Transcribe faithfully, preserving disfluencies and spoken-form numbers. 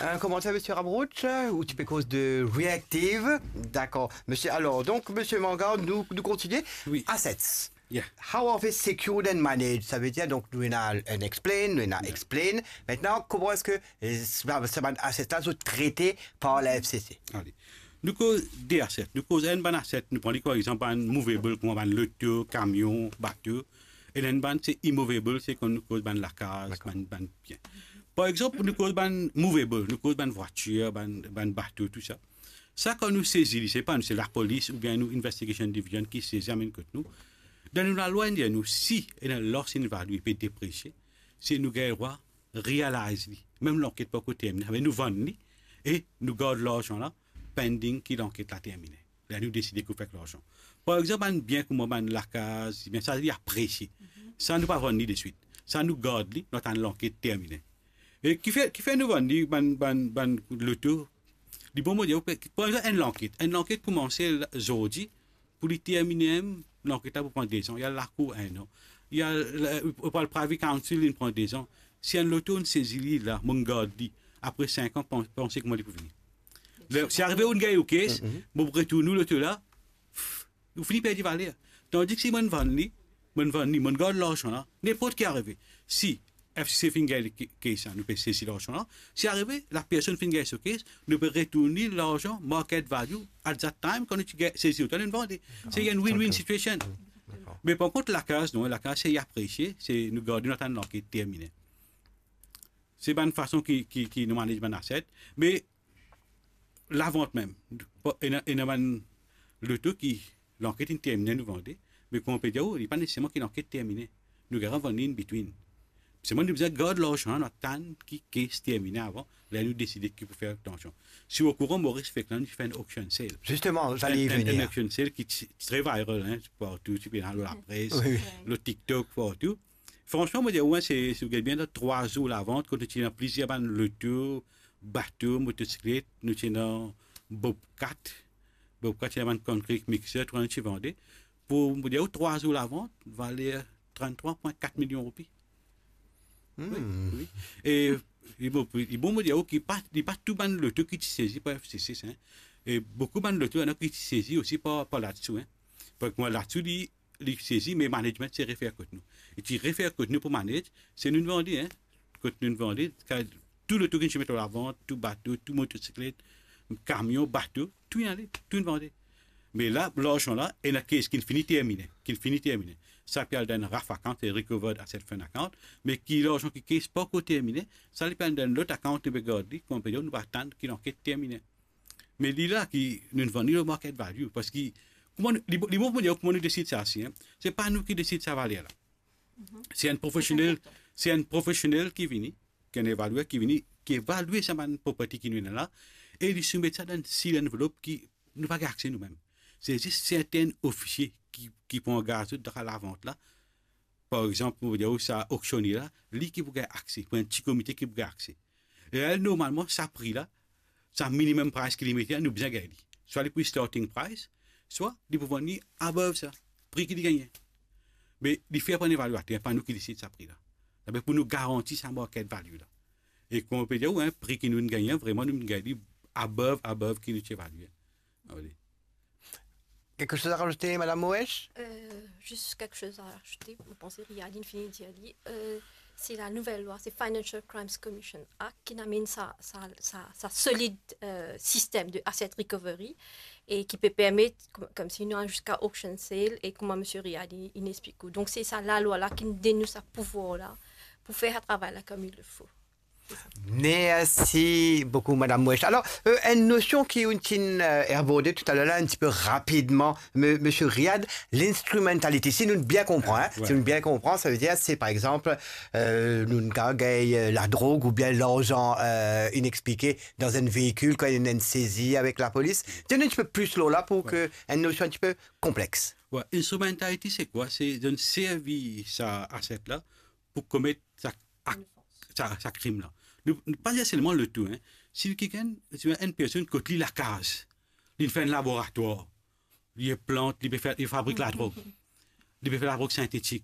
Un commentaire, monsieur Ramroach, ou ti pe koz de reactive. D'accord. Monsieur, alors, donc, monsieur Manga, nous, nous continuons. Oui. Assets. Yeah. How are they secured and managed? Ça veut dire, donc, nou ena un explain, nou ena explain. Maintenant, comment est-ce que euh, ça, ça va être asset là, sont traités par la F C C? Ale. Nou koz de asset. Nou koz enn bann asset, nou pran li par exanp bann movable, kouma bann loto, kamion, bato. E enn bann se immovable, se kan nou koz bann lakaz, bann, bann bien. Par exanp, nou koz bann movable, nou koz bann vwatir, bann, bann bato, tou sa. Sa, kan nou sezi li, se pa nou, se lapolis oubien nou investigation division ki sezi, amenn kot nou. Dan nou lalwa, inn dir nou, si ena loss in value, pe depresie, se nou gagn drwa realize li. Mem lanket pa ankor termine, me nou vann li e nou gard larzan la pending ki lanket la termine. La nou deside ki fer larzan. Par exanp, bann bien kouma bann lakaz, bien sa, li apresie. Sa, nou pa vann li deswit. Sa, nou gard li, nou atann lanket termine. E kifer, kifer nou vann li, bann, bann, bann loto? Li bon, mo dir, par exanp, enn lanket. Enn lanket koumanse zordi, pou li termine, lanket la pou pran de zan. Li al lakour enn an. Li al, li al privy counsel, li pran de zan. Si enn loto, nou sezi li la, nou gard li. Apre sink an, pan-, panse kouma li pou vini. Le, si arive ou gagn ou kes, mo retourn ou loto la, ou fini perdi valer. Tandis ki si mo vann li, mo vann li, mo gard larzan la, ninport ki arive. Si F C C finn gagn kes la, nou pe sezi larzan la. Si arive, lapersonn finn gagn so kes, nou pe retourn li larzan, market value, at that time, kan nou ti gagn, sezi otan, nou vande. Se enn win-win situation. Me par kont, lakaz, non, lakaz, se apresie, se nou gard, nou atann lanket termine. Se bann fason ki, ki, ki nou manage bann asset. Me lavant mem. Ena, ena bann loto ki lanket inn termine, nou vande, me kouma pe dir ou, li pa neseserman ki lanket termine. Nou gagn vann li in between. Selman nou bizin gard larzan, nou atann ki kes termine avan, la nou deside ki pou fer larzan. Si ou okouran, Maurice Feklan, li fer enn auction sale. Justement, j'allais y Enn, enn, venir. Enn auction sale ki ti, ti tre viral, hein, partou, ti pe dan lapres, Oui. Lor TikTok, partou. Fransman, mo dir, wi, se, si ou gard bien, dan trwa zour lavant, kot nou ti ena plizier bann loto, bato, motosiklet, nou ti ena Bobcat, Bobcat, ti ena bann concrete mixer, tou sa nou ti vande. Pou, mo dir, trwa zour lavant, valer tranntrwa pwin kat milion roupi. Wi, wi. E, e bon, e bon, mo dir, ki pa, li pa tou bann loto ki ti sezi par F C C, hein. E boukou bann loto, ena ki ti sezi osi par, par Ladsou, hein. Parski mwa, Ladsou, li, li sezi, me management ti refer kot nou. E ti refer kot nou pou manage, se nou vande, hein. Kot nou vande, ka-, tou loto ki nou ti met lavant, tou bato, tou motosiklet, kamion, bato, tou inn ale, tou inn vande. Me la, larzan la, ena kes ki finn fini termine, ki finn fini termine. Sa pe al dan enn RAF account, se Recovered Asset Fund account, me ki larzan ki kes pa ankor termine, sa li pe al dan enn lot account, nou pe gard li, kouma pe dir, nou pe atann ki lanket termine. Me li la ki nou vann li lor market value, parski kouma nou, li, li bon pou dir kouma nou desid sa, si, hein. Se pa nou ki desid sa valer la. Se enn profesionel, se enn profesionel ki vini, ki enn evalyer ki vini, ki evalie sa bann property ki nou ena la, e li soumet sa dan enn sealed envelope ki nou pa gagn akse nou mem. Se zis serten ofisie ki, ki pou angaz dan lavant la. Par exanp, mo dir ou, sa auctioneer la, li ki pou gagn akse, pou enn ti komite ki pou gagn akse. E la, normalman, sa pri la, sa minimum price ki li mete la, nou bizin gagn li. Swa li pou starting price, swa li pou vann li above sa, pri ki li gagne. Me li fer par enn evalyater, pa nou ki desid sa pri la. Sa be pou nou garanti sa market value la. E kouma pe dir ou, hein, pri ki nou gagne, vreman nou gagne li above, above ki nou ti evalye. Alor. Quelque chose à rajouter, Madame Moesch? Euh, juste quelque chose à ajouter. Vous pensez, Riyad inn fini dir li, euh, c'est la nouvelle loi, c'est Financial Crimes Commission Act qui amène ça, ça, ça, ça solide euh, système de asset recovery et qui peut permettre, comme, comme si nous avons jusqu'à auction sale et comme M. Riyad il, il explique. Donc c'est ça la loi là qui nous donne nous ce pouvoir là pour faire un travail là comme il le faut. Merci beaucoup, Madame Moesch. Alors, euh, une notion qui nous euh, abordée tout à l'heure là, un petit peu rapidement, M. Riyad, l'instrumentality. Si nous bien comprenons, hein, si nous bien comprenons, ça veut dire c'est par exemple, euh, nous gagnons euh, la drogue ou bien l'argent euh, inexpliqué dans un véhicule quand il y a une saisie avec la police. Dis-nous un petit peu plus là pour que une notion un petit peu complexe. Ouais, instrumentality, c'est quoi? C'est de servir sa asset là pour commettre sa, sa, sa crime là. Nou, nou pa dir selman loto, hein. Si quelqu'un, si une personne kot li lakaz, li fer un laboratoire, li plant, li pe fer, li fabrik la drogue, li pe fer la drogue synthétique,